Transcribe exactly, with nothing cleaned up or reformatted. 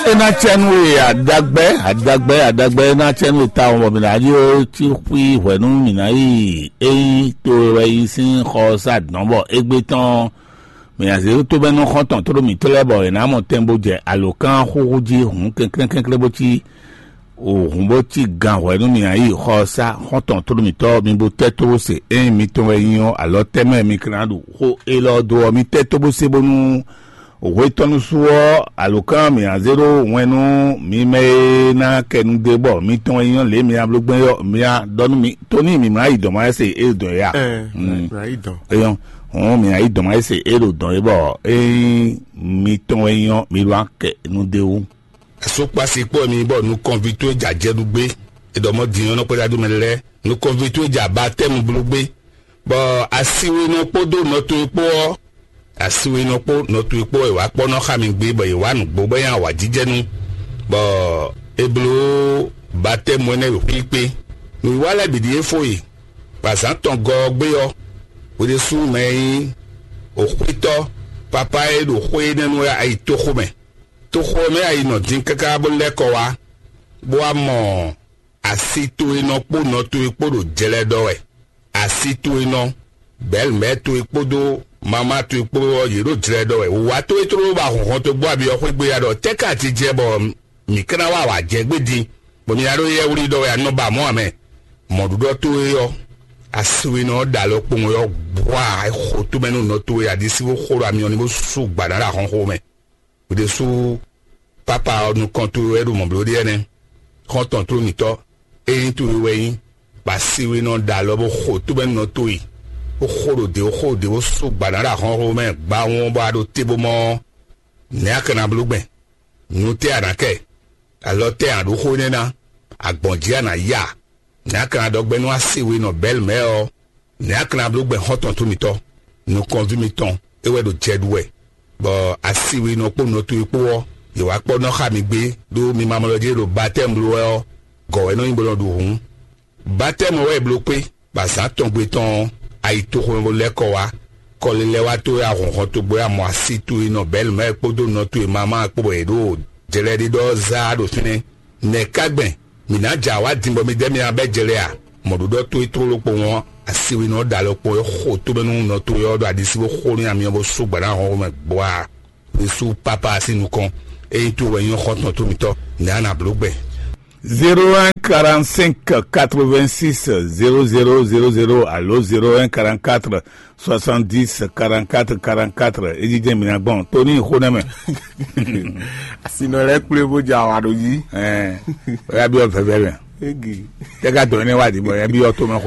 E ná cɛ nú we adagbɛ adagbɛ adagbɛ, e ná cɛ nú we tawun bɔ mǐ ná ɖó cí xwí hwɛ̌ nú mǐ ná yi ényí to e wɛ yi sín xɔ sá dɔ̌n bɔ égbé tɔn mǐ ná zé tó bɛ́ nú xɔ́ntɔn tló mǐtɔn lɛ́ɛ bɔ è nǎ mɔ tɛn bó jɛ alǒkan xúxú jí hǔn kɛnklɛ́nkɛnklɛ́n bó cí òhun bó cí gan hwɛ̌ nú mǐ ná yi xɔ sá xɔ́ntɔn tló mǐtɔn mi bó tɛ́ tó bó se ényí mitɔn wɛ nyí ɔ́, alɔ tɛ́ mɛ mi ka ná ɖu xó élɔ́ dó ɔ́, mi tɛ́ tó bó se bónú hwetɔ́nu su ɔ́, alǒkan mǐ ná zé ɖó wɛn nú mi mɛ e ná kɛ nu dó bɔ mitɔn e nyí lě mi ná bló gbɛn ɔ́, mi ná ɖɔ nú mi tó ní mǐ mlá yi dɔ̌n ma se é dɔn é a? Ɛn, Mm. Mǐ ná yi dɔn. Eyɔn, hɔn mǐ ná yi dɔ̌n ma se é ɖo dɔ̌n é bɔ ényí mitɔn e nyí mi ɖó akɛ nu dó wú. Asúkpasi kpó mi bɔ nukɔnví towe jɛ ajɛ ɖu gbé. È ɖɔ mɔ din ɔ́ nɔ kpɛ́ ɖa dó mɛ lɛ́ɛ. Nukɔnví towe jɛ abatɛmu bló gbé. Bɔ asiwinɔ kpódó nɔ towe kpó ɔ́, asiwinɔ kpó nɔ towe kpó wɛ wǎ kpɔ́ nɔ xa mi gbé bɔ yě wá nǔgbó bɔ nyí awǎjijɛnú, bɔ è bló batɛmu énɛ́ ɖo xwí kpé. Nǔwiwa lɛ́ɛ bǐ ɖíe fó e, bɔ azǎn tɔn gɔ ɔ́ gbé ɔ́, hwe ɖésú mɛ e nyí òxwítɔ́ papá e ɖo xwé énɛ́ nu wɛ ayi toxo mɛ. Toxo ɔ́ mɛ ayi nɔ dín káká bó lɛ́ kɔ wá, bó wá mɔ asi towe nɔ kpó nɔ towe kpó ɖo jlɛ ɖɔ wɛ. Asi towe nɔ, bɛ̌lmɛ̌ towe kpódó mamá towe kpó ɔ́, yě ɖo jlɛ ɖɔ wɛ. Wǔwá towe tlóló ba hɔnhɔn togbó abi ɔ́ xwé gbé ya ɖɔ tɛ́ ka ti jɛ bɔ mǐ ka ná wa wǎ jɛ gbé din, bɔ mi ná ɖó yɛ wlí ɖɔ wɛ a nɔ ba mɔ̌ ǎ mɛ. Mɔ̌ɖuɖɔ towe ɔ́, asiwinɔ ɔ́ ɖo alɔ kpowun ɔ́ bwa xo tomɛ nú nɔ towe aɖisí bó xo ɖo amyɔ ní bó sú gbǎ ná ɖo ahɔnxó mɛ. Ɖésú pápá ɔ́ nukɔn towe wɛ ɖo mɔ̌ bló ɖe ɛnɛ́. Xɔ́ntɔn tló mǐtɔn, ényí towe wɛ nyí, bɔ asiwinɔ ɖo alɔ bó xo tomɛ nú nɔ towe, bó xo ɖo dě, bó xo ɖo dě, bó sú gbǎ ná ɖo ahɔnxó mɛ gbawun bɔ a ɖo te bó mɔ ɔ́, nɛ̌ a ka ná bló gbɛn? Nu tɛ́ a nǎ kɛ? Alɔ tɛ́ a ɖǒ xó énɛ́ ná? Agbɔ̌n jí a nǎ ya? Nɛ̌ a ka ná ɖɔ gbɛ́ nú asiwinɔ bɛ́lmɛ́ ɔ́? Nɛ̌ a ka ná bló gbɛn xɔ́ntɔn towe mitɔn? Nukɔnví mitɔn, é wɛ ɖo jɛ ɖu wɛ, bɔ asiwinɔ kpó nɔ towe kpó ɔ́, yě wá kpɔ́ nɔ xa mi gbé, ɖó mi ma mlɔ́ jí ɖo batɛ́mu bló wɛ ɔ́, gɔ̌ wɛ nɔ nyí bó nɔ ɖu hǔn. Batɛ́mu ɔ́ wɛ è bló kpé, bɔ azǎn tɔn gbe tɔn ɔ́, ayi toxomɛ bó lɛ́ kɔ wá. Kɔlilɛ wá towe ahɔnhɔn togbó ya mɔ asi towe nɔ bɛ́lmɛ́ kpódó nɔ towe mamá kpó bɔ yě ɖo jlɛɖiɖɔ zá ɖo fínɛ́. Nɛ̌ ka gbɛn? Mǐ ná jɛ awǎ din bɔ mi dɛ́ mi ná bɛ́ jlɛ a? Mɔ̌ɖuɖɔ towe tlóló kpowun ɔ́, asiwinɔ ɖo alɔ kpowun é xo tómɛ nú nɔ towe ɔ́ ɖo aɖisí bó xo nú amyɔ bó sú gbǎ ná hɔn xomɛ gbɔ́ a? Yésu pápá sín nukɔn, ényí towe wɛ nyí xɔ́ntɔn tomitɔ́, nɛ̌ a nǎ bló gbɛn? Zéro un quarante-cinq quatre-vingt-six zéro zéro zéro zéro alo zéro un quarante-quatre soixante-dix quarante-quatre quarante-quatre. Ejijɛ mina gbɔn Tony Xonɛmɛ. Asinɔ lɛ kple bó dza wa ɖo dzi. Ɛɛ, oya bi ɔ vɛvɛ mɛ. Egi. Tɛ ka dɔn ne wa di bɔ ya bi ɔ to mɛ xo